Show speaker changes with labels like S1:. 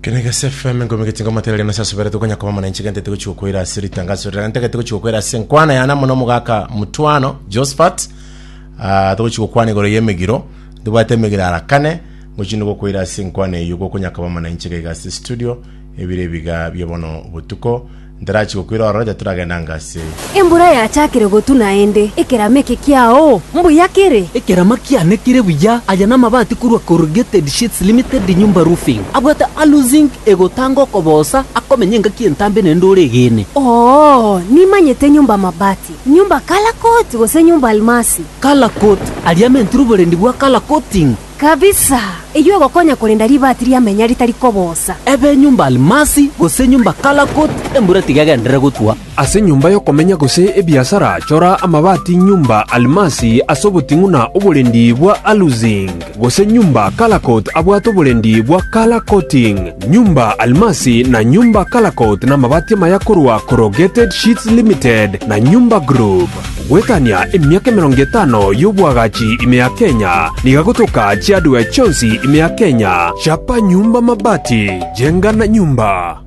S1: Kenegese FM nkomegete ngomaterere nase asoberete konya koba mana inche gentete gochi gokoira ase ritangazo rira ntagete gochi gokoira ase nkwana yana mono omogaka mutwano Josephat ah, togochi gokwana igoro y'emegiro ntobwate emegiro ara kane ngochi gokoira ase enkwana eyio gokonya koba mana inche gaiga ase studio ebire ebiga bia bono botuko Ntarachi gokwira ororo, titoragenda anga ase.
S2: Embura yachakire gotwa naende, ekerama eke kiao mbuya kere?
S3: Ekerama kiane kere buya, aya namabati korwa Corrugated Sheets Limited Nyumba Roofing. Abwate aluzinc egotanga okobosa, akomenya engaki entambe naende ore egene.
S2: Oo, nimanyete nyumba mabati, nyumba colour coat gose nyumba almasi.
S3: Colour coat, aria amentire oborendi bwa colour coating.
S2: Kabisa! Eyio egokonya korenda ribaati ri'amenya ritari kobosa.
S3: Ebe enyomba Almasi, gose enyomba Kalakot, embura tiga egenderere gotwa.
S4: Ase enyomba y'okomenya gose ebiasara, chora amabati nyumba Almasi ase oboting'u na oborendi bwa Aluzinc, gose nyumba Kalakot abwate oborendi bwa Colour Coating. Nyumba Almasi na nyumba Kalakot namabati amaya korwa Corrugated Sheets Limited na Nyumba Group. Goetania emiaka emerongo etano y'oboagachi ime ya Kenya, nigo agotoka chiadwe chionsi ime ya Kenya. Chapa nyumba mabati, jenga na nyumba.